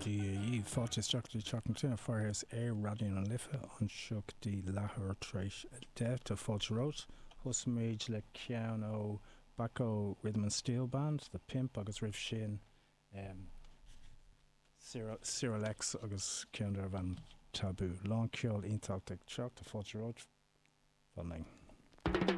Dia dhaoibh. Fáilte isteach go dtí Teach na Tine Firehouse ar Raidió na Life anseo go dtí leathuair tar éis 10. Tá fáilte romhat. Thosaigh muid le ceann ó Bacco Rhythm and Steel Band, The Pimp agus roimh sin Cyril X agus ceann darbh ainm Taboo. Lán ceol iontach ag teacht. Tá fáilte romhat. Fan linn.